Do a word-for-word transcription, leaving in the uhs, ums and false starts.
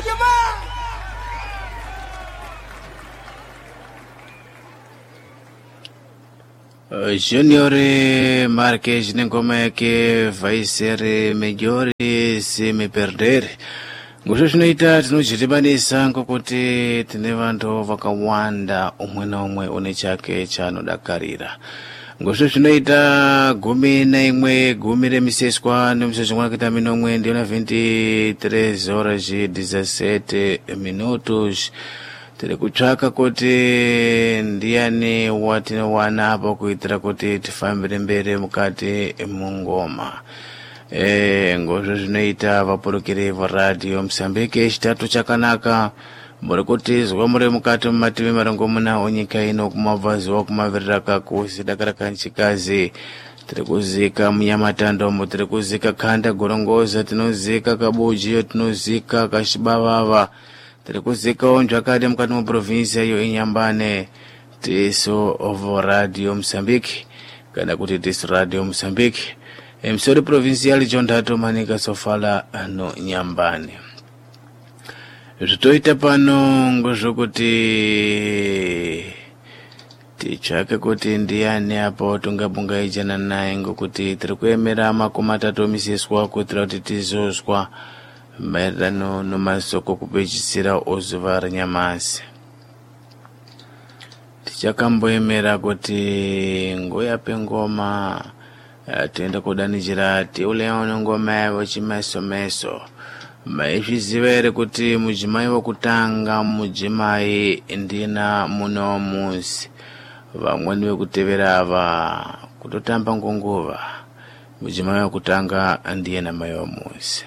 Jamaa. Junior Marques nengoma yake vai ser melhor se me perder. Ngozvo zvinoita tinozviribanisa ngokuti tine vantu vakawanda umwe naumwe une chake chaanodakarira. Ngozvo zvinoita gumi naimwe gumi remiseswa nemiseswa mwana minomwe ndiyona veintitrês horas e dezessete minutos. Tiri kutsvaka kuti ndiani watinowana apo kuitira kuti tifambire mberi mukati mungoma. E, ngozvo zvinoita vapurukiri varadio Mozambique chitatu chakanaka muri kutizwa muri mukati mumativi marongomuna onyika ino kumabvazuva kumavirira kakusi dakara kanchikazi. Tiri kuzika munyamatandomo, tiri kuzika khanda gorongoza, tinozika kabujiyo, tinozika kachibavava, tiri kuzikawo nzvakadi mukati muprovinsia iyo inyambane. Tisu ovo Radio Mozambique kana kuti tisu Radio Mozambique emsori provincial John Manica Sofala no Nyambane. Zvitoita pano ngozvokuti titsvake kuti ndiani apo tungabungaidzana naye ngokuti tiri kuemera makumi atatu omisiswa kuitira kuti tizozwa maererano nomasoko kupedzisira ozuva renyamasi. Tichakamboemera kuti ngoyape ngoma, eh, toenda kudanidzira tiuleone ngoma yavo chimesomeso. Maizviziva here kuti mudzimai wokutanga mudzimai ndina muno muzi, vamweni vekutevera ava kutotamba ngonguva. Mudzimai wokutanga ndiye namai womuzi.